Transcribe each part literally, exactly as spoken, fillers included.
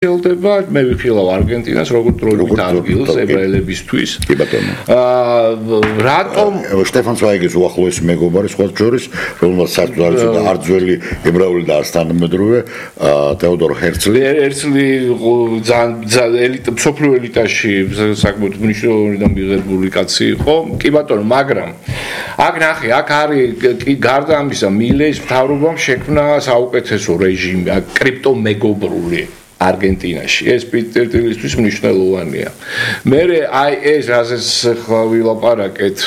ხელდება მე ვიხილავ არგენტინას როგორც დროებით ადგილს ებრაელებისთვის. კი ბატონო. აა რატომ შტეფან ცვაიგის უახლოესი მეგობარი სხვა შორის, რომელსაც საერთოდ არ არ ძველი ებრაული და თანამედროვე თეოდორ ჰერცლი. ჰერცლი ძალიან ელიტა სოფლიო ელიტაში საკმაოდ მნიშვნელოვანი და მიღებული კაცი იყო. კი ბატონო, მაგრამ აქ ნახე, აქ არის გარდა ამისა მილეს მთავრობამ შექმნა საუკეთესო რეჟიმი, კრიპტომეგობრული არგენტინაში. ეს პიტერტილისთვის მნიშვნელოვანია. მე აი ეს რაზეც ხლა ვილაპარაკეთ,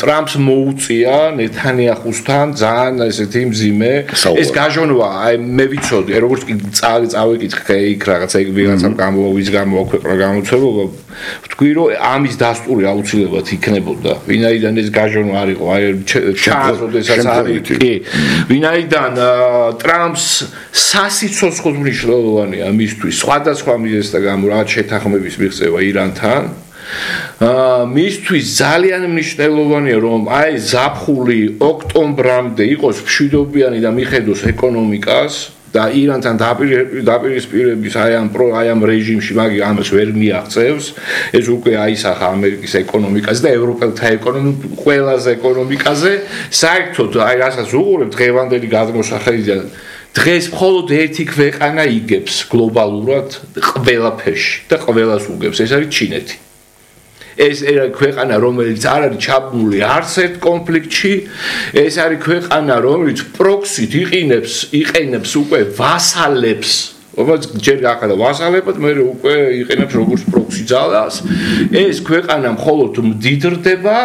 ტრამპს მოუწია ნეთანიაჰუსთან ძალიან ესეთი მძიმე. ეს გაჟონვა, აი მე ვიცოდი, როგორც კი წავეკითხე იქ რაღაცა იქ ვიღაცამ გამოვიძ გამოაქვეყნა გამოცემობა, ვთქვი რომ ამის დასტური აუცილებლად იქნებოდა. ვინაიდან ეს გაჟონვა არ იყო, აი ჩარლზ ოდესაც არის, კი. ვინაიდან ტრამპს სასიცოცხლო მნიშვნელოვანია მისთვის სხვადასხვა მიზეზთა გამო რაც შეთანხმების მიღწევა ირანთან აა მისთვის ძალიან მნიშვნელოვანია რომ აი ზაფხული ოქტომბრამდე იყოს მშვიდობიანი და მიხედოს ეკონომიკას და ირანთან დაპირისპირების აი ამ აი ამ რეჟიმში მაგი ამას ვერ მიაღწევს ეს უკვე აისახა ამერიკის ეკონომიკაზე და ევროპელთა ეკონომიკაზე ყველაზე ეკონომიკაზე საერთოდ აი რასაც უყურებ დღევანდელი გადმოსახედიდან დღეს მხოლოდ ერთი ქვეყანა იგებს გლობალურად ყველაფერში და ყველას უგებს ეს არის ჩინეთი. ეს ქვეყანა რომელიც არ არის ჩაბმული არც ერთ კონფლიქტში, ეს არის ქვეყანა რომელიც პროქსით იყინებს, იყენებს უკვე ვასალებს ობა ჯერ ახლა ვასალებად მე უკვე იყენებს როგორც პროქსი ძალას ეს ქვეყანა მხოლოდ მდიდრდება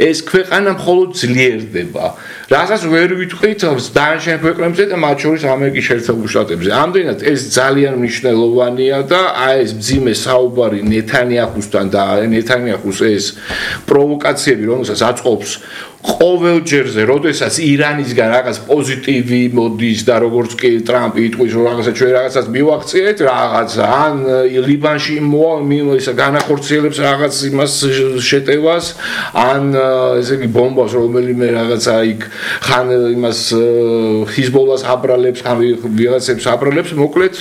ეს ქვეყანა მხოლოდ ძლიერდება რასაც ვერ ვიტყვით დანარჩენ ქვეყნებზე და მათ შორის ამერიკის შეერთებულ შტატებზე ამდენად ეს ძალიან მნიშვნელოვანია და აი ეს მძიმე საუბარი ნეთანიაჰუსთან და ნეთანიაჰუს ეს პროვოკაციები რომელსაც აწყობს ყოველ ჯერზე, როდესაც ირანისგან რაღაც პოზიტივი მოდის და როგორც კი ტრამპი იტყვის, რომ რაღაცა ჩვენ რაღაცას მივაღწიეთ, რაღაც ან ლიბანში ისე განახორციელებს რაღაც იმას შეტევას, ან ესე იგი ბომბას რომელიმე რაღაცა იქ ხან იმას ჰიზბოლას აბრალებს, ხან ვიღაცებს აბრალებს, მოკლედ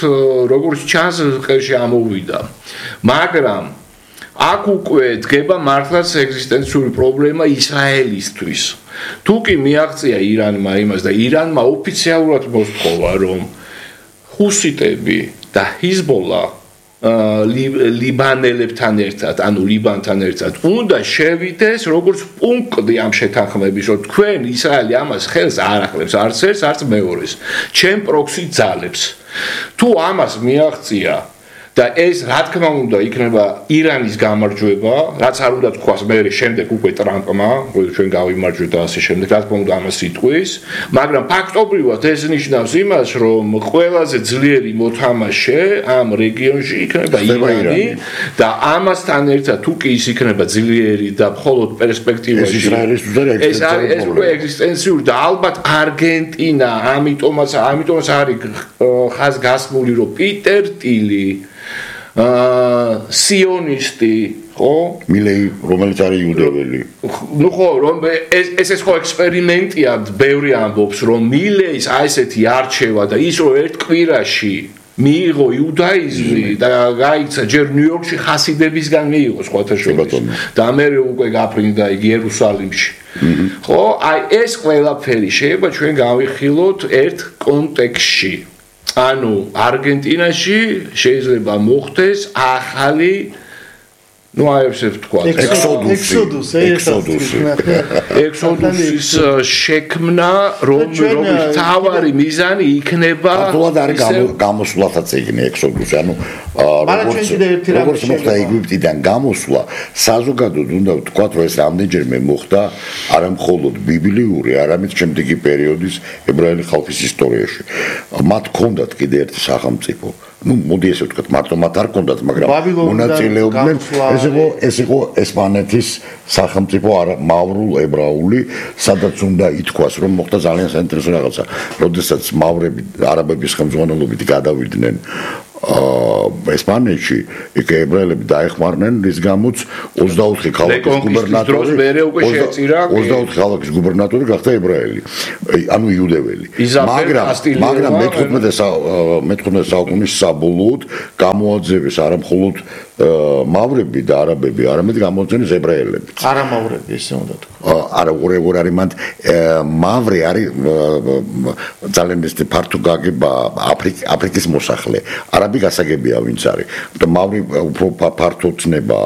როგორც ჩანს, ხელში ამოვიდა. მაგრამ აქ უკვე დგება მართლაც ეგზისტენციური პრობლემა ისრაელისთვის. თუ კი მიაღწია ირანმა იმას და ირანმა ოფიციალურად მოსთხოვა, რომ ჰუსიტები და ჰიზბოლა ლიბანელებთან ერთად, ანუ ლიბანთან ერთად უნდა შევიდეს როგორც პუნქტი ამ შეთანხმების, რომ თქვენ ისრაელი ამას ხელს არ ახლებს არც ერთს, არც მეორეს. ჩემ პროქსი ძალებს. თუ ამას მიაღწია და ეს რა თქმა უნდა იქნება ირანის გამარჯვება, რაც არ უნდა თქვას მე შემდეგ უკვე ტრამპმა, რომ ჩვენ გავიმარჯვეთ და ასე შემდეგ, რა თქმა უნდა ამას იტყვის, მაგრამ ფაქტობრივად ეს ნიშნავს იმას, რომ ყველაზე ძლიერი მოთამაშე ამ რეგიონში იქნება ირანი და ამასთან ერთად თუ კი ის იქნება ძლიერი და მხოლოდ პერსპექტივაში ეს არის ეს უკვე ეგზისტენციური და ალბათ არგენტინა, ამიტომაც ამიტომაც არის ხაზგასმული, რომ პიტერ ტილი აა სიონისტი ხო მილეი რომელიც არის იუდეველი ნუ ხო რომ ეს ეს ხო ექსპერიმენტია ბევრი ამბობს რომ მილეის აი ესეთი არჩევა და ის რომ ერთ კვირაში მიიღო იუდაიზმი და გაიცა ჯერ ნიუ-იორკში ხასიდებისგან მიიღო სხვათა შორის და მე უკვე გაფრინდა იგი იერუსალიმში ხო აი ეს ყველაფერი შეიძლება ჩვენ გავიხილოთ ერთ კონტექსტში ანუ არგენტინაში შეიძლება მოხდეს ახალი ну а вообще თქვა ექსოდუსი ექსოდუსი ექსოდუსის შექმნა რომ რომელიც თავარი მიზანი იქნება თულად არის გამოსვლათაც ეგნე ექსოდუსი ანუ როგორც როგორც მოხდა ეგვიპტიდან გამოსვლა საზოგადოდ უნდა ვთქვა რომ ეს რამდენჯერმე მოხდა არა მხოლოდ ბიბლიური არამედ შემდეგი პერიოდის ებრაელი ხალხის ისტორიაში მათ ჰქონდათ კიდე ერთი სახელმწიფო ну მოდი ესე ვთქვათ მარტო მათ არ ჰქონდათ მაგრამ მონაწილეობდნენ ეს იყო ეს იყო ესპანეთის სახელმწიფო მავრულ ებრაული სადაც უნდა ითქვას რომ მოხდა ძალიან საინტერესო რაღაცა როდესაც მავრები არაბების ხელმძღვანელობით გადავიდნენ აა ესპანეთში იქ ებრაელები დაეხმარნენ რის გამოც ოცდაოთხი ქალაქის გუბერნატორი ოცდაოთხი ქალაქის გუბერნატორი გახდა ებრაელი ანუ იუდეველი მაგრამ მაგრამ მეთორმეტე საუკუნის საბოლოოდ გამოაძევეს არა მხოლოდ მავრები და არაბები არამედ გამოაძევეს ებრაელები არა მავრები ესე უნდა თქვა არა ორ არის მანდ მავრი არის ძალიან ეს ფართო გაგება აფრიკის მოსახლე არაბი გასაგებია ვინც არის და მავრი უფრო ფართო ცნება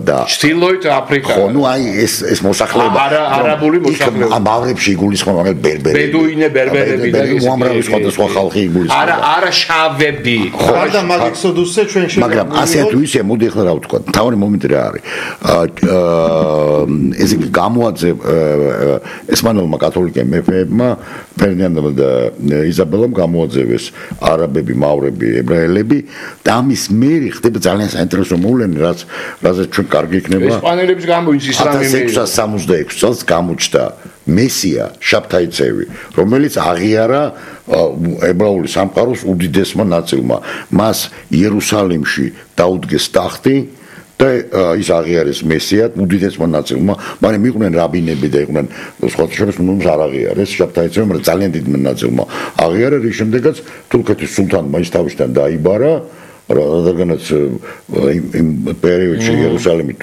და ჩtildeოით აფრიკა ხო ნუ აი ეს ეს მოსახლეობა არა არაბული მოსახლეობა მავრებში იგულისხმება მაგალითად ბერბერები ბედუინე ბერბერები და ის უამრავი სხვადასხვა ხალხი იგულისხმება არა არა შავები გარდა მაგ ექსოდუსზე ჩვენ შევ მაგრამ ასე თუ ისე მოდი ახლა რა ვთქვა თავი მომენტი რა არის ეს გამოაძე ესპანელმა კათოლიკე მეფეებმა ფერდინანდმა და იზაბელამ გამოაძევეს არაბები, მავრები, ებრაელები და ამის მერე ხდება ძალიან საინტერესო მოვლენა, რაც რაზეც ჩვენ კარგი იქნება. ესპანელების გამოიც ისლამი ათას ექვსას სამოცდაექვსი წელს გამოჩნდა მესია შაბთაიცევი, რომელიც აღიარა ებრაული სამყაროს უდიდესმა ნაწილმა. მას იერუსალიმში დაუდგეს ტახტი და ის აღიარეს მესიად უდიდესმა ნაწილმა, მაგრამ იყვნენ რაბინები და იყვნენ სხვა შორის ნუ არ აღიარეს შაბთაიცევი, მაგრამ ძალიან დიდმა ნაწილმა აღიარა, რის შემდეგაც თურქეთის სულთანმა ის თავისთან დაიბარა რადგანაც იმ პერიოდში იერუსალიმი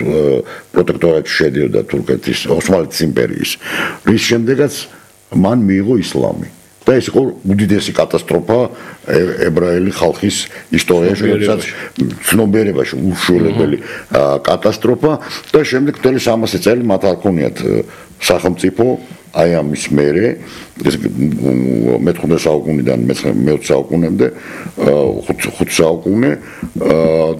პროტექტორატში შედიოდა თურქეთის ოსმალეთის იმპერიის რის შემდეგაც მან მიიღო ისლამი და ეს იყო უდიდესი კატასტროფა ებრაელი ხალხის ისტორიაში, როდესაც ცნობიერებაში უშუალებელი კატასტროფა და შემდეგ მთელი სამასი წელი მათ არ ქონიათ სახელმწიფო აი ამის მერე მეხუთე საუკუნიდან მეოცე საუკუნემდე ხუთ საუკუნე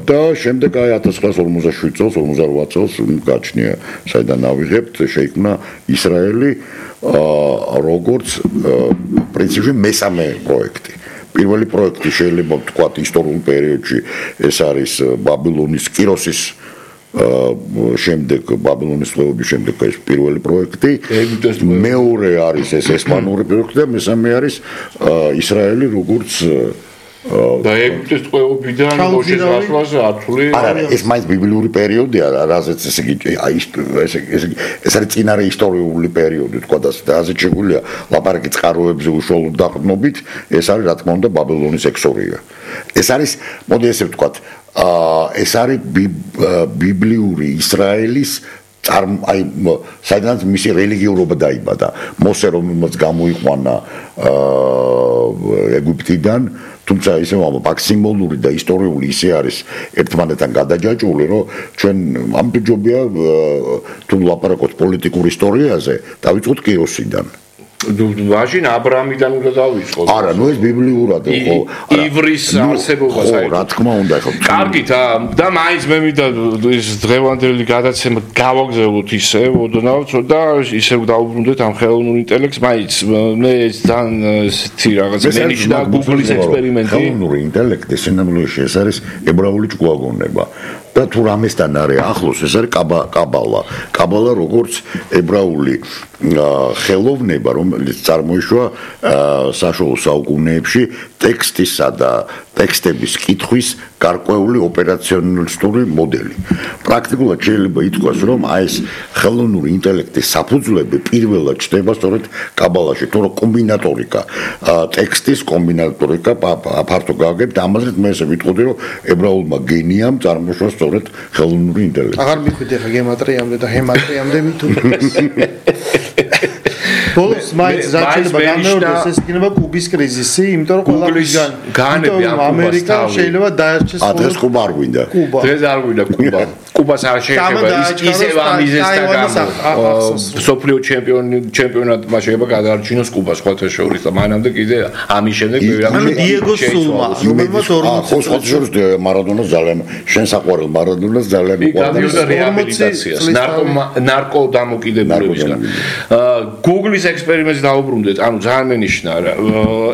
და შემდეგ აი ათას ცხრაას ორმოცდაშვიდ წელს ორმოცდარვა წელს გაჩნია საიდან ავიღებთ შეიქმნა ისრაელი როგორც პრინციპში მესამე პროექტი პირველი პროექტი შეიძლება ვთქვათ ისტორიულ პერიოდში ეს არის ბაბილონის კიროსის შემდეგ ბაბილონის თლეობის შემდეგ ეს პირველი პროექტი მეორე არის ეს ესპანური პროექტი და მესამე არის ისრაელი როგორც და ეგვიპტის ტყვეობიდან მოშეს გასვლაზე ათული არა ეს მაინც ბიბლიური პერიოდია რაზეც ესე იგი ეს ეს არის წინარე ისტორიული პერიოდი თქვა და ასეთ შეგვიძლია ლაპარაკი წყაროებზე უშუალოდ დაყრდნობით ეს არის რა თქმა უნდა ბაბილონის ექსორია ეს არის მოდი ესე ვთქვათ ეს არის ბიბლიური ისრაელის აი საიდანაც მისი რელიგიურობა დაიბადა მოსე რომელმაც გამოიყვანა ეგვიპტიდან თუმცა ისე მაქსიმალური და ისტორიული ისე არის ერთმანეთთან გადაჯაჭვული რომ ჩვენ ამჯობია თუ ლაპარაკობთ პოლიტიკურ ისტორიაზე დავიწყოთ კიროსიდან მაშინ აბრამიდან უნდა დავიწყოთ. არა, ნუ ეს ბიბლიურად ხო. ივრის არსებობა საერთოდ. რა თქმა უნდა, ხო. კარგით, და მაინც მე მინდა ეს დღევანდელი გადაცემა გავაგზავნოთ ისე, ოდნავ და ისე დავუბრუნდეთ ამ ხელოვნურ ინტელექტს, მაინც მე ძალიან ესეთი რაღაც მენიშნა Google-ის ექსპერიმენტი. ხელოვნური ინტელექტი სინამდვილეში ეს არის ებრაული ჭკუაგონება. და თუ რამესთან არის ახლოს ეს არის კაბალა. კაბალა როგორც ებრაული ხელოვნება, რომელიც წარმოიშვა საშუალო საუკუნეებში ტექსტისა და ტექსტების კითხვის გარკვეული ოპერაციონალისტური მოდელი. პრაქტიკულად შეიძლება ითქვას, რომ აი ეს ხელოვნური ინტელექტის საფუძვლები პირველად ჩნდება სწორედ კაბალაში, თუ რა კომბინატორიკა, ტექსტის კომბინატორიკა ფართო გაგებ და ამაზე მე ესე ვიტყოდი, რომ ებრაულმა გენიამ წარმოშვა სწორედ ხელოვნური ინტელექტი. აღარ მიხვიდე ხა გემატრიამდე და ჰემატრიამდე მითუ. ბოლოს მაინც შეიძლება გამეორდეს ეს იქნება კუბის კრიზისი, იმიტომ რომ ყველა განები ამერიკა შეიძლება დაერჩეს დღეს კუბა არ გვინდა. დღეს არ გვინდა კუბა. კუბას არ შეიძლება ისევ ამიზესთან გამო. სოფლიო ჩემპიონი ჩემპიონატმა შეიძლება გადაარჩინოს კუბა სხვათა შორის და მანამდე კიდე ამის შემდეგ მე ვიღებ. ანუ დიეგო სულმა, რომელმაც ორმოცი სხვათა შორის მარადონას ძალიან შენ საყვარელ მარადონას ძალიან უყვარდა რეაბილიტაციას, ნარკო ნარკო დამოკიდებულებისგან. Google-ის ექსპერიმენტს დაუბრუნდეთ, ანუ ძალიან მენიშნა რა.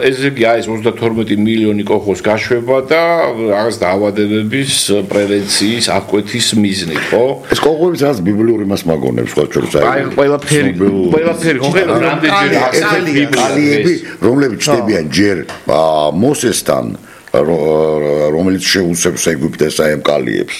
ესე იგი აი ეს ოცდათორმეტი მილიონი კოხოს გაშვება და რაღაც დაავადებების პრევენციის აღკვეთის მიზნით, ხო? ეს კოხოებიც რაღაც ბიბლიური მას მაგონებს სხვა შორის აი. აი ყველაფერი, ყველაფერი konkrეტულად რამდენჯერ ასეები, რომლებიც ჩნდებიან ჯერ მოსესთან რომელიც შეუსებს ეგვიპტეს აი ამ კალიებს.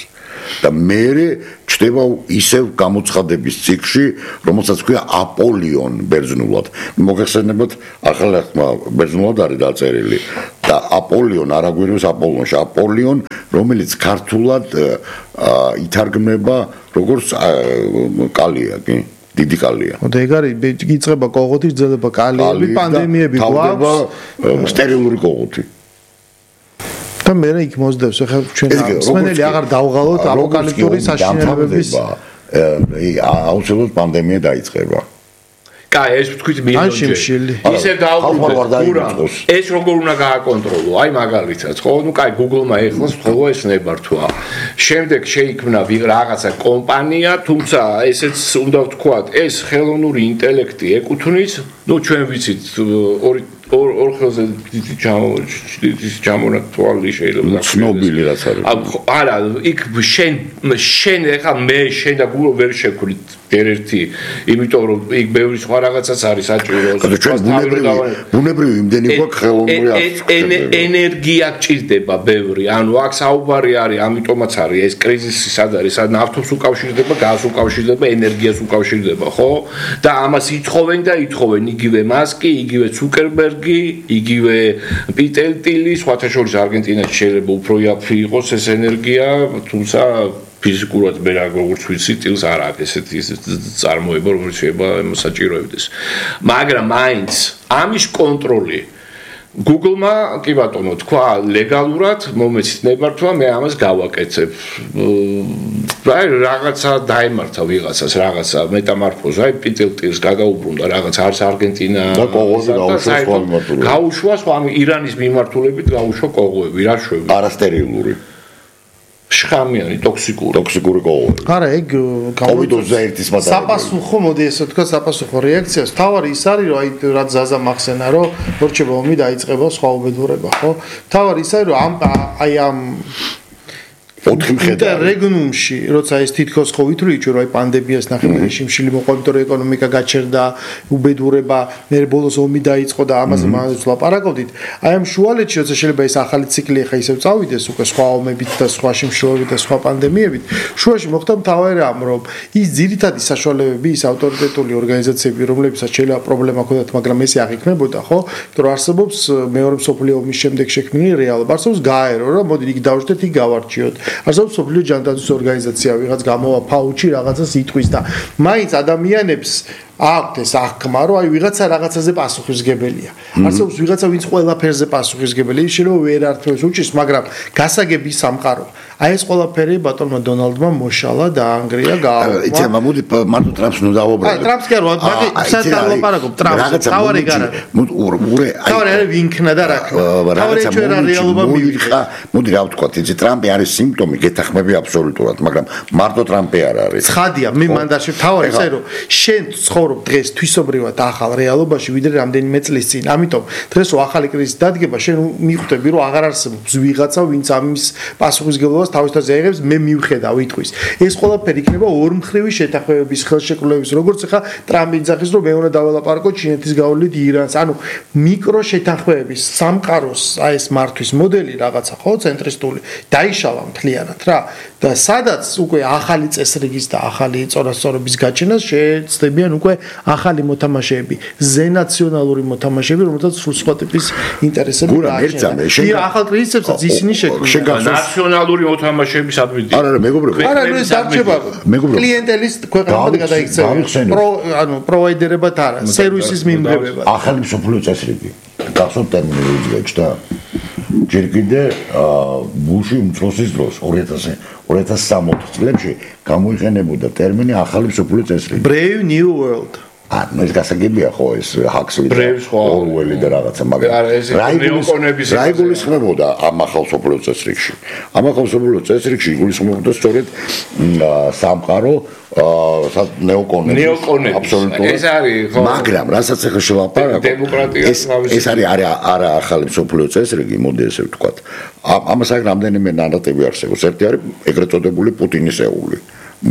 და მე ჩდება ისევ გამოცხადების ციკლში, რომელსაც ქვია აპოლიონ ბერძნულად. მოგეხსენებათ, ახლა ხმა ბერძნულად არის დაწერილი და აპოლიონ არ აგვიროს აპოლონში, აპოლიონ, რომელიც ქართულად ითარგმნება როგორც კალია, კი? დიდი კალია. და ეგ არის იწყება კოღოთი, ძელება კალიები, პანდემიები გვაქვს, სტერილური კოღოთი. და მე იქ მოსდევს ახლა ჩვენ მსმენელი აღარ დავღალოთ აპოკალიფტური საშინელებების აუცილებლად პანდემია დაიწყება. კაი, ეს ვთქვით მილიონჯერ. ისევ დაუბრუნდეთ. ეს როგორ უნდა გააკონტროლო? აი მაგალითად, ხო, ნუ კაი, Google-მა ეხლას ხოლო ეს ნებართვა. შემდეგ შეიქმნა რაღაცა კომპანია, თუმცა ესეც უნდა ვთქვათ, ეს ხელოვნური ინტელექტი ეკუთვნის, ნუ ჩვენ ვიცით ორი ორ ორ ხელზე დიდი ჯამონა თვალი შეიძლება ცნობილი რაც არის. არა, იქ შენ შენ ახლა მე შენ და Google ვერ შევქვრით ერთ-ერთი, იმიტომ რომ იქ ბევრი სხვა რაღაცაც არის საჭირო. ბუნებრივი იმდენი გვაქვს ხელოვნური ენერგია გჭირდება ბევრი. ანუ აქ საუბარი არის, ამიტომაც არის ეს კრიზისი სად არის, სად ნავთობს უკავშირდება, გაზს უკავშირდება, ენერგიას უკავშირდება, ხო? და ამას ითხოვენ და ითხოვენ იგივე მასკი, იგივე ცუკერბერგი, იგივე პიტერ ტილი, სხვათა შორის არგენტინაში შეიძლება უფრო იაფი იყოს ეს ენერგია, თუმცა ფიზიკურად მე როგორც ვიცი, ტილს არ აქვს ესეთი წარმოება, რომელიც შეიძლება მოსაჭიროებდეს. მაგრამ მაინც ამის კონტროლი Google-მა, კი ბატონო, თქვა ლეგალურად, მომეცით ნებართვა, მე ამას გავაკეთებ. აი რაღაცა დაემართა ვიღაცას, რაღაცა მეტამორფოზა, აი პიტერ ტილს გადაუბრუნდა რაღაც არს არგენტინა და კოღოები გაუშვა სხვა მიმართულებით. გაუშვა სხვა ირანის მიმართულებით გაუშვა კოღოები, რა შვები. არასტერილური. შხამიანი, ტოქსიკური, ტოქსიკური კოღოები. არა, ეგ კოვიდ ოცდაერთის მატარებელი. საპასუხო, მოდი ესე ვთქვა, საპასუხო რეაქციას. თავარი ის არის, რომ აი რაც ზაზა მახსენა, რომ მორჩება ომი დაიწყება სხვა უბედურება, ხო? თავარი ის არის, რომ ამ აი ამ ოთხი მხედარი რეგნუმში, როცა ეს თითქოს ხო ვითვლით, რომ აი პანდემიას ნახევარ რეჟიმში მოყვა, იმიტომ რომ ეკონომიკა გაჩერდა, უბედურება, მე ბოლოს ომი დაიწყო და ამაზე მაინც ვლაპარაკობდით. აი ამ შუალედში, როცა შეიძლება ეს ახალი ციკლი ახლა ისევ წავიდეს, უკვე სხვა ომებით და სხვა შემთხვევებით და სხვა პანდემიებით, შუაში მოხდა მთავარი რამ, რომ ის ძირითადი საშუალებები, ის ავტორიტეტული ორგანიზაციები, რომლებსაც შეიძლება პრობლემა ჰქონდათ, მაგრამ ესე არ იქნებოდა, ხო? იმიტომ რომ არსებობს მეორე მსოფლიო ომის შემდეგ შექმნილი რეალობა, არსებობს გაერო, რომ მოდი იქ დავждეთ, იქ გავარჩიოთ. არსებობს სოფლიო ჯანდაცვის ორგანიზაცია, ვიღაც გამოვა ფაუჩი რაღაცას იტყვის და მაინც ადამიანებს აქვთ ეს აღქმა, რომ აი ვიღაცა რაღაცაზე პასუხისგებელია. არსებობს ვიღაცა, ვინც ყველაფერზე პასუხისგებელია, შეიძლება ვერ ართმევს უჭის, მაგრამ გასაგები სამყარო. აი ეს ყველაფერი ბატონმა დონალდმა მოშალა და ანგრია გააუქმა. იცი, მოდი მარტო ტრამპს ნუ დავუბრუნდეთ. აი ტრამპს კი არა, მაგრამ საერთოდ ლაპარაკობ ტრამპს, თავარი გარა. ურე, აი თავარი არის ვინქნა და რა ქნა. თავარი ჩვენ რეალობა მივიღა. მოდი რა ვთქვა, იცი, ტრამპი არის სიმპტომი, გეთახმები აბსოლუტურად, მაგრამ მარტო ტრამპი არ არის. ცხადია, მე მანდაში თავარი ისე რომ შენ ცხოვრობ დღეს თვისობრივად ახალ რეალობაში, ვიდრე რამდენიმე წლის წინ. ამიტომ დღეს რო ახალი კრიზისი დადგება, შენ მიხვდები, რომ აღარ არსებობს ვიღაცა, ვინც ამის პასუხისგებლობას თავისთავად აიღებს, მე მივხედავ იტყვის. ეს ყველაფერი იქნება ორმხრივი შეთანხმებების ხელშეკრულების, როგორც ახლა ტრამპი ძახის, რომ მე უნდა დაველაპარაკო ჩინეთის გავლით ირანს. ანუ მიკრო შეთანხმებების სამყაროს აი ეს მართვის მოდელი რაღაცა, ხო, ცენტრისტული დაიშალა მთლიანად რა. და სადაც უკვე ახალი წესრიგის და ახალი წონასწორობის გაჩენას შეეცდებიან უკვე ახალი მოთამაშეები, ზენაციონალური მოთამაშეები, რომელთაც სულ სხვა ტიპის ინტერესები გააჩნია. შენ ახალ კრიზისებსაც ისინი შექმნიან. ნაციონალური მოთამაშეების ადვიდი. არა, არა, მეგობრებო. არა, ეს დარჩება კლიენტელის ქვეყნებად გადაიქცევა. პრო, ანუ პროვაიდერებად არა, სერვისის მიმღებებად. ახალი მსოფლიო წესრიგი. გახსოვთ ტერმინოლოგია და ჯერ კიდე ბუში უმცროსის დროს ორი ათას სამოცდაოთხ წლებში გამოიყენებოდა ტერმინი ახალი მსოფლიო წესრიგი. Brave New World. ანუ ეს გასაგებია ხო ეს ჰაქსლი და ორველი და რაღაცა, მაგრამ რა იგულისხმებოდა ამ ახალ მსოფლიო წესრიგში? ამ ახალ მსოფლიო წესრიგში იგულისხმებოდა სწორედ სამყარო ნეოკონები. აბსოლუტურად. ეს არის ხო. მაგრამ რასაც ახლა შევაპარაკო, ეს ეს არის არა ახალი მსოფლიო წესრიგი, მოდი ესე ვთქვათ. ამას აქ რამდენიმე ნარატივი არსებობს. ერთი არის ეგრეთ წოდებული პუტინისეული,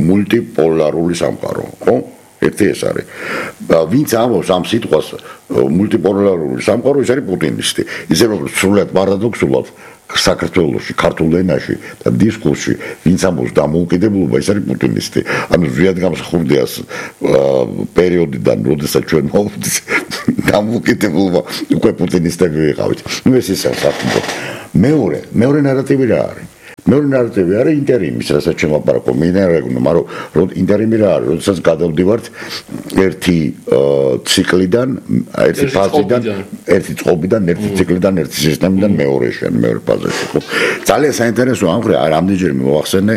მულტიპოლარული სამყარო, ხო? ერთი ეს არის. ვინც ამბობს ამ სიტყვას მულტიპოლარული სამყარო, ის არის პუტინისტი. ისე რომ სრულად პარადოქსულად საქართველოში, ქართულ ენაში და დისკურსში, ვინც ამბობს დამოუკიდებლობა, ეს არის პუტინისტი. ანუ ზვიად გამსხურდიას პერიოდიდან, როდესაც ჩვენ მოვდით დამოუკიდებლობა, უკვე პუტინისტები ვიყავით. ნუ ეს ისე საქმე. მეორე, მეორე ნარატივი რა არის? მეორე ნარატივი არის ინტერიმის, რასაც შემოაპარაკო მინერალოგნო, მაგრამ ინტერიმი რა არის? როდესაც გადავდივართ ერთი ციკლიდან, ერთი ფაზიდან, ერთი წყობიდან, ერთი ციკლიდან, ერთი სისტემიდან მეორეში, მეორე ფაზაში. ძალიან საინტერესო ამ ხრი რამდენჯერმე მოახსენე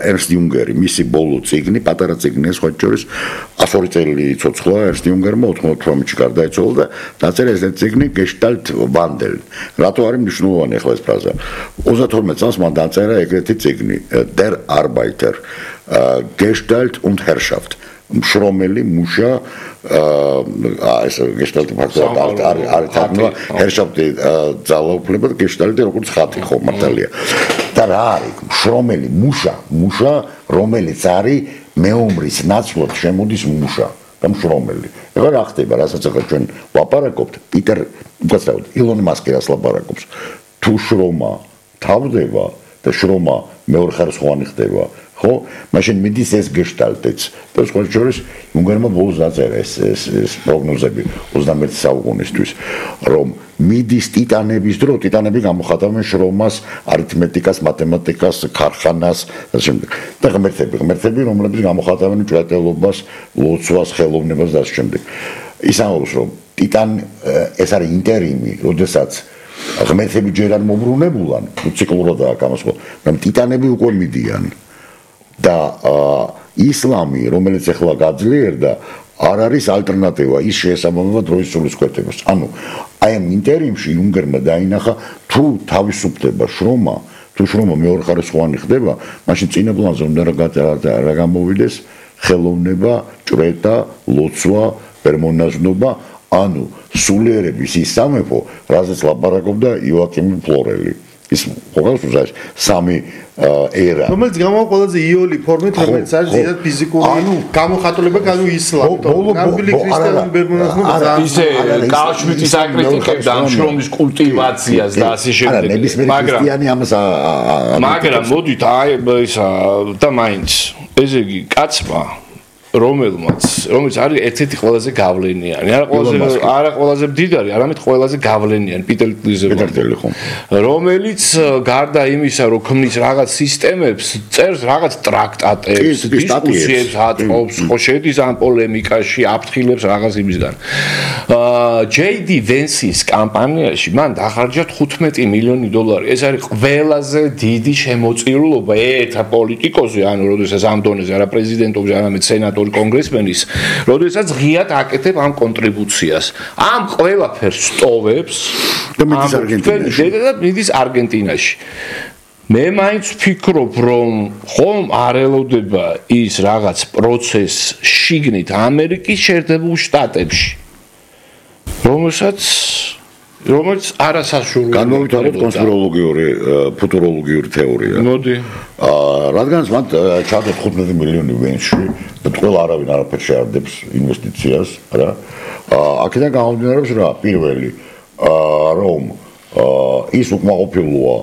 ერნსტ იუნგერი, მისი ბოლო წიგნი, პატარა წიგნი, სხვა შორის εκατს ორი წელი იცოცხლა ერნსტ იუნგერმა ოთხმოცდაოთხში გარდაიცვალა და დაწერა ეს წიგნი გეშტალტ ვანდელ. რატო არის მნიშვნელოვანი ახლა ეს ფრაზა? ოცდათორმეტ წელს მან დაწერა ეგრეთი წიგნი Der Arbeiter Gestalt und Herrschaft მშრომელი მუშა ეს გეშტალტი ფაქტობრივად არის თარგმნა Herrschaft ძალაუფლება და გეშტალტი როგორც ხატი ხო მართალია და რა არის მშრომელი მუშა მუშა რომელიც არის მეომრის ნაცვლად შემოდის მუშა და მშრომელი ეხლა რა ხდება რასაც ახლა ჩვენ ვაპარაკობთ პიტერ უბრალოდ ილონ მასკი რას ლაპარაკობს თუ შრომა თავდება და შრომა მეორე ხარისხოვანი ხდება ხო მაშინ მიდის ეს გეშტალტიც და სხვა შორის იუნგერმა ბოლოს დაწერა ეს ეს პროგნოზები ოცდამეერთე საუკუნისთვის რომ მიდის ტიტანების დრო ტიტანები გამოხატავენ შრომას არითმეტიკას მათემატიკას ქარხანას და შემდეგ და ღმერთები ღმერთები რომლებიც გამოხატავენ ჭრეტელობას ლოცვას ხელოვნებას და შემდეგ ის ამბობს რომ ტიტან ეს არის ინტერიმი როდესაც ღმერთები ჯერ არ მოbrunებულან ციკლურადაა გამოსხო მაგრამ ტიტანები უკვე მიდიან და ისლამი რომელიც ახლა გაძლიერდა არ არის ალტერნატივა ის შეესაბამება დროის სულისკვეთებას ანუ აი ამ ინტერიმში იუნგერმა დაინახა თუ თავისუფლდება შრომა თუ შრომა მეორეხარისხოვანი ხდება მაშინ წინა პლანზე უნდა რა გამოვიდეს ხელოვნება ჭრეტა ლოცვა პერმონაზნობა ანუ სულიერების ის სამეფო, რაზეც ლაპარაკობდა იოაკიმ ფლორელი. ის ყოველს უზას სამი ერა. რომელიც გამოვა ყველაზე იოლი ფორმით, რომელიც არის ზედათ ფიზიკური გამოხატულება, ანუ ისლამი. ნამდვილი ქრისტიანული პერმონაზნობა ისე კალშმიტის აკრიტიკებდა ამ შრომის კულტივაციას და ასე შემდეგ. მაგრამ ქრისტიანი ამას მაგრამ მოდით აი ისა და მაინც ესე იგი კაცმა რომელმაც რომელიც არის ერთ-ერთი ყველაზე გავლენიანი არა ყველაზე არა ყველაზე მდიდარი არამედ ყველაზე გავლენიანი პიტერ ტილზერი რომელიც გარდა იმისა რომ ქმნის რაღაც სისტემებს წერს რაღაც ტრაქტატებს დისკუსიებს აწობს ხო შედის ამ პოლემიკაში აფრთხილებს რაღაც იმისგან ჯეი დი ვენსის კამპანიაში მან დახარჯა თხუთმეტი მილიონი დოლარი ეს არის ყველაზე დიდი შემოწირულობა ერთ პოლიტიკოსზე ანუ როდესაც ამ დონეზე არა პრეზიდენტობზე არამედ სენატორი კონგრესმენის, როდესაც ღიად აკეთებ ამ კონტრიბუციას. ამ ყველაფერს სტოვებს და მიდის არგენტინაში. და მიდის არგენტინაში. მე მაინც ვფიქრობ, რომ ხომ არ ელოდება ის რაღაც პროცესს შიგნით ამერიკის შეერთებულ შტატებში. რომელსაც რომელიც არასაშუალო განმოვიტანოთ კონსპიროლოგიური ფუტუროლოგიური თეორია. მოდი. აა რადგანაც მან ჩადე თხუთმეტი მილიონი ვენში და ყველა არავინ არაფერს შეარდებს ინვესტიციას, რა. აა აქედან გამომდინარეობს რა, პირველი აა რომ აა ის უკმაყოფილოა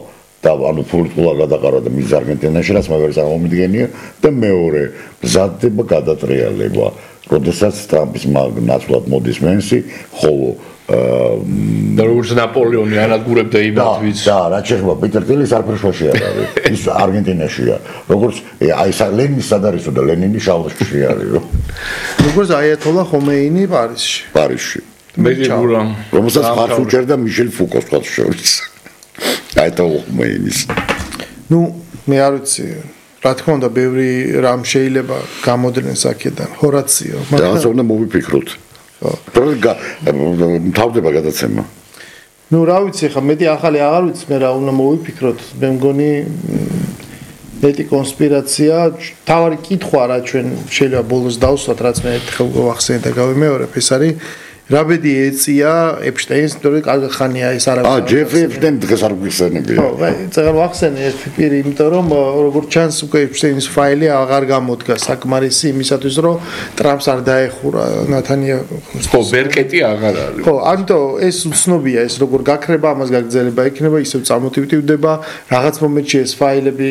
და ანუ პოლიტიკურად გადაყარა და მის არგენტინაში რაც მე ვერ წარმომიდგენია და მეორე მზადდება გადატრიალება, როდესაც ტრამპის ნაცვლად მოდის მენსი, ხოლო და როგორც ნაპოლეონი ანადგურებდა იმათვით და რაც შეეხება პიტერ ტილის არაფერში არ არის ის არგენტინაშია როგორც აი ლენინის სად არისო და ლენინი შალვაშში არის როგორც აიათოლა ხომეინი პარიზში პარიზში მედიბურა რომელსაც ხარს უჭერდა მიშელ ფუკოს თქვა შორის აიათოლა ხომეინის ნუ მე არ ვიცი რა თქმა უნდა ბევრი რამ შეიძლება გამოდრენს აქედან ჰორაციო მაგრამ და უნდა მოვიფიქროთ პროგა თავდება გადაცემა. ნუ რა ვიცი ხა მეტი ახალი აღარ ვიცი მე რა უნდა მოვიფიქროთ. მე მგონი მეტი კონსპირაცია, თავარი კითხვა რა ჩვენ შეიძლება ბოლოს დავსვათ რაც მე ერთხელ გავახსენე და გავიმეორებ ეს არის რაბედი ეწია ეპშტეინს, თორე კარგი ხანია ეს არა. აა, ჯეფრი ეპშტეინი დღეს არ გვიხსენებია. ხო, წეგარ ვახსენე ეს ფიქრი, იმიტომ რომ როგორც ჩანს უკვე ეპშტეინის ფაილი აღარ გამოდგა საკმარისი იმისათვის, რომ ტრამპს არ დაეხურა ნათანიაჰუს. ხო, ბერკეტი აღარ არის. ხო, ამიტომ ეს უცნობია ეს როგორ გაქრება, ამას გაგრძელება იქნება, ისევ წამოტივტივდება, რაღაც მომენტში ეს ფაილები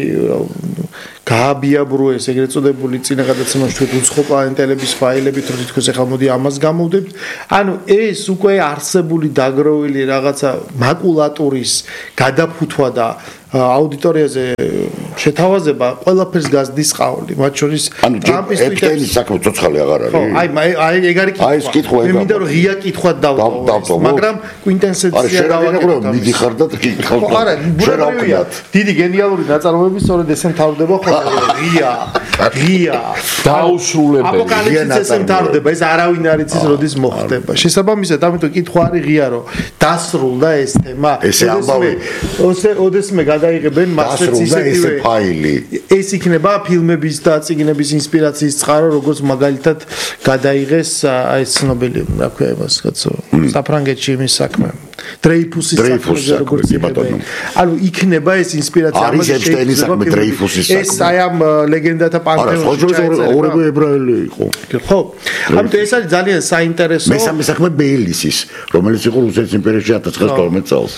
გააბიაბროეს ეს ეგრეთ წოდებული წინა გადაცემაში თუ უცხო პლანეტელების ფაილები თუ თითქოს ახლა მოდი ამას გამოვდებთ. ანუ ეს უკვე არსებული დაგროვილი რაღაცა მაკულატურის გადაფუთვა და აუდიტორიაზე შეთავაზება ყველაფერს გაზდის ყავლი, მათ შორის ტრამპის ტვიტერის საქმე ცოცხალი აღარ არის. ხო, აი აი ეგ არის კითხვა. აი ეს კითხვა მე მინდა რომ ღია კითხვად დავტოვო, მაგრამ კვინტენსენცია დავაკეთებ. მიდიხარ და კითხავ. ხო, არა, ბუნებრივია. დიდი გენიალური ნაწარმოები სწორედ ესე მთავრდება ხოლმე, ღია, ღია. დაუსრულებელი. აპოკალიფსის ესე მთავრდება, ეს არავინ არ იცის როდის მოხდება. შესაბამისად, ამიტომ კითხვა არის ღია, რომ დასრულდა ეს თემა. ესე ამბავი. ოსე ოდესმე დაიღებენ მასეც ისეთივე ფაილი. ეს იქნება ფილმების და წიგნების ინსპირაციის წყარო, როგორც მაგალითად გადაიღეს აი ეს ცნობილი, რა ქვია იმას, კაცო, საფრანგეთში იმის საქმე. დრეიფუსის საქმე როგორც იქნება. ანუ იქნება ეს ინსპირაცია ამაზე ეპშტეინის საქმე დრეიფუსის საქმე. ეს აი ამ ლეგენდათა პანთეონში. არა, ხო, ორები ებრაელი იყო. ხო. ამიტომ ეს არის ძალიან საინტერესო. მესამე საქმე ბეილისის, რომელიც იყო რუსეთის იმპერიაში ათას ცხრაასი თორმეტ წელს.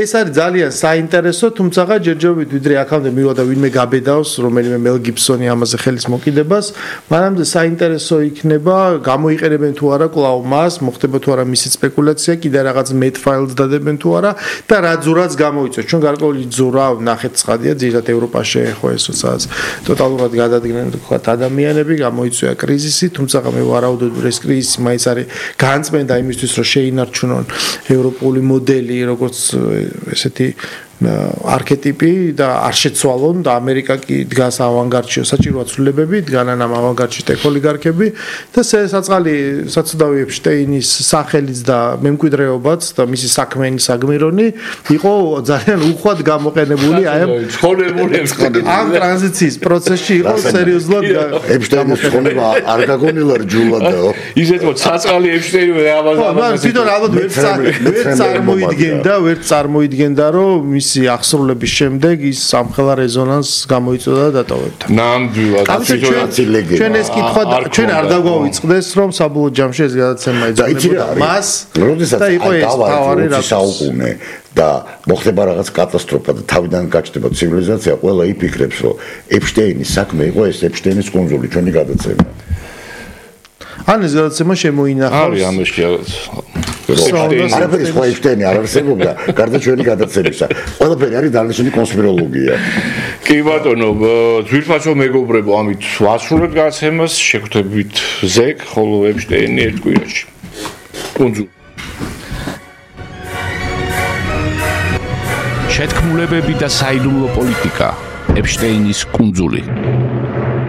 ეს არის ძალიან საინტერესო, თუმცა ჯერჯერობით ვიდრე აქამდე მივიდა ვინმე გაბედავს რომელიმე მელ გიბსონი ამაზე ხელის მოკიდებას, მანამდე საინტერესო იქნება გამოიყენებენ თუ არა კлау მას, მოხდება თუ არა მისი სპეკულაცია, კიდე რაღაც met files დადებენ თუ არა და რა ძურაც გამოიწვევს. ჩვენ გარკვეული ძურა ნახეთ ცხადია, ძირითადად ევროპაში ხო ეს როდესაც ტოტალურად გადადგნენ თქვა ადამიანები, გამოიწვია კრიზისი, თუმცა მე ვარაუდობ რომ ეს კრიზისი მაინც არის განწმენდა იმისთვის რომ შეინარჩუნონ ევროპული მოდელი, როგორც ესეთი არქეტიპი და არ შეცვალონ და ამერიკა კი დგას ავანგარდში, საჭიროა ცვლილებები, დგანან ამ ავანგარდში ტექოლიგარქები და საწყალი საცუდავი ეპშტეინის სახელიც და მემკვიდრეობაც და მისი საქმენი საგმირონი იყო ძალიან უხვად გამოყენებული აი ამ ცხოვრებული ამ ტრანზიციის პროცესში იყო სერიოზულად ეპშტეინის ცხოვრება არ გაგონილა რჯულადაო ისეთ რომ საწყალი ეპშტეინი ამაზე ამაზე თვითონ ალბათ ვერ წარმოიდგენდა ვერ წარმოიდგენდა რომ ახსრულების შემდეგ ის სამხელა რეზონანსს გამოიწვია და დატოვებდა. ნამდვილად. ჩვენ ეს კითხვა ჩვენ არ დაგვავიწყდეს რომ საბოლოო ჯამში ეს გადაცემა ეძებნებოდა მას. როდესაც იყო ეს თავარი საუკუნე და მოხდება რაღაც კატასტროფა და თავიდან გაჩნდება ცივილიზაცია, ყველა იფიქრებს რომ ეპშტეინის საქმე იყო ეს ეპშტეინის კუნძული, ჩვენი გადაცემა. ან ეს გადაცემა შემოინახავს. არის ამაში რაღაც არაფერი სხვა ეპშტეინი არ არსებობდა, გარდა ჩვენი გადაცემისა. ყველაფერი არის დანიშნული კონსპიროლოგია. კი ბატონო, ძვირფასო მეგობრებო, ამით ვასრულებთ გადაცემას, შეგვთებით ზეგ, ხოლო ეპშტეინი ერთ კვირაში. კუნძულ. შეთქმულებები და საიდუმლო პოლიტიკა. ეპშტეინის კუნძული.